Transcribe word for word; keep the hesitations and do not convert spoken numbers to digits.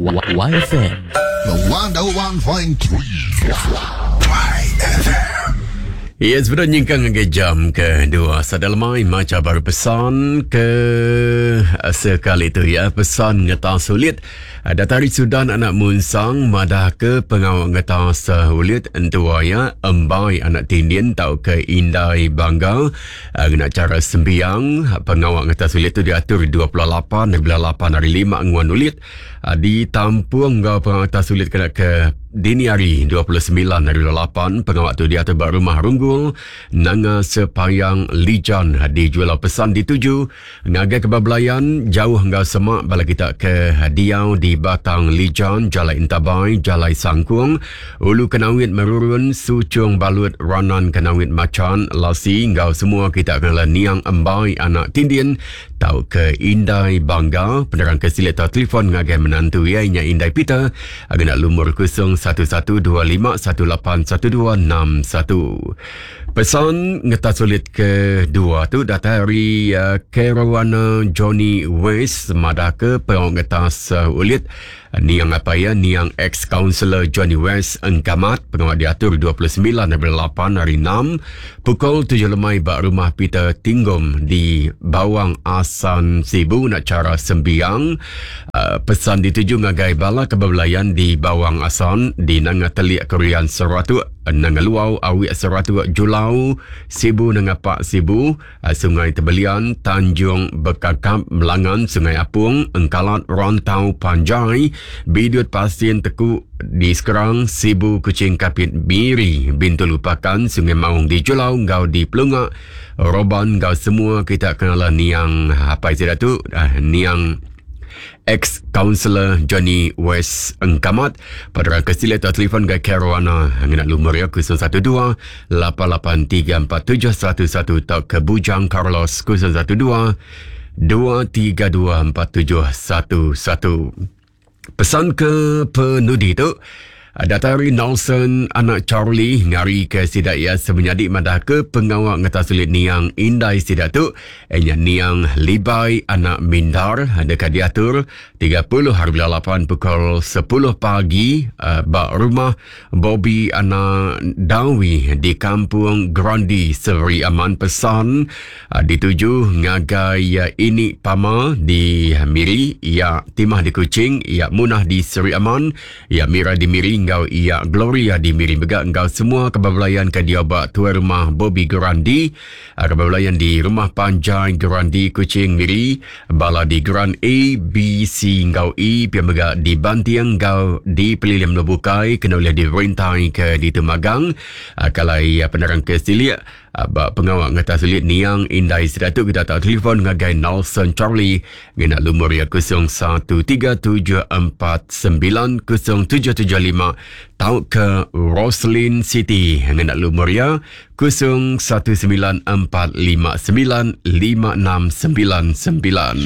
Y F M. one oh one point three Y F M. Ya, sebenarnya nyingkang ke jam kedua. Sadar lemai maca baru pesan ke eh, sekali tu ya. Pesan ngetas sulit. Datari Sudan anak Munsang madah ke pengawal ngetas sulit entua ya embai anak tindin tau ke indai bangga ngena cara sembiang. Pengawal ngetas sulit tu diatur dua puluh lapan lapan hari lima nguan ulit ditampung ngau pengawal ngetas sulit kena ke dini hari dua puluh semilan hari lapan. Pengawal tu diatur ba rumah Runggul Nanga Sepayang Lijan di Jualau. Pesan dituju ngagai kebablayan jauh enggau semak bala kita ke diau di Batang Lijan, Jalai Entabai, Jalai Sangkung, Ulu Kenawit Merurun, Sucung Balut, Ranan Kenawit Macan, Lasi enggau semua kita kenal Niang Embai anak Tindin tau ke Indai Bangga. Penerang ke silet atau telefon ngagai menantu ia nya Indai Peter agak lumur kosong satu satu dua lima satu lapan satu dua enam satu. Pesan ngetas sulit kedua tu datang dari uh, Caruana Johnny West madah ke pengawal ngetas uh, ulit niang apa ya niang ex-counselor Johnny West Engkamat. Pengawal diatur dua puluh sembilan lapan hari enam pukul tujuh lemai ba rumah Peter Tinggom di Bawang Asan Sibu nak cara sembiang. Uh, pesan dituju ngagai bala kebablayan di Bawang Asan, di Nanga Telik Korean Seratuk, Nanga Luau Awik Seratuk, Julau Sibu, Nanga Pak Sibu, uh, Sungai Tebelian, Tanjung Bekakap, Melangan, Sungai Apung, Engkalat, Rantau Panjai, Bidut Pasien Teku di Sekerang, Sibu, Kucing, Kapit, Miri, Bintulu, Pakan, Sungai Maung di Julau, Ngau di Pelungak, Roban ngau semua kita kenal niang apa istilah tu uh, niang ex-counselor Johnny West Engkamat. Pada kesila atau telefon ke Caruana ngena lumur ya kosong satu dua lapan lapan tiga empat tujuh satu satu atau ke Bujang Carlos kosong satu dua dua tiga dua empat tujuh satu satu. Pesan ke penudi tu datari Nelson anak Charlie ngari ke sidak ya semenyadi madah ke pengawal ngetas sulit niang indai sidak tu nya niang Libai anak Mindar dekat diatur tiga puluh hari lapan pukul sepuluh pagi uh, ba rumah Bobby anak Dawi di Kampung Grandi Seri Aman. Pesan uh, dituju ngagai uh, ini Pama di Miri, ya Timah di Kuching, ya Munah di Seri Aman, ya Mira di Miri ngau ia Gloria di Miri mega ngau semua kebablayan ke dia ba tuan rumah Bobby Grandi, kebablayan di rumah Panjai Grandi Kuching Miri, bala di Grand A B C ngau E pia mega di Bantiang ngau di Pelilim Lebukai kena boleh dirintai ke di Temagang. Kalau penerang ke Silik ba pengawal ngetas sulit niang indai seratu kita tak telefon ngagai Nelson Charlie ngena lumur ya kosong satu tiga tujuh empat sembilan kosong tujuh tujuh lima tau ke Roslyn City ngena lumur ya kosong satu sembilan empat lima sembilan lima enam sembilan sembilan.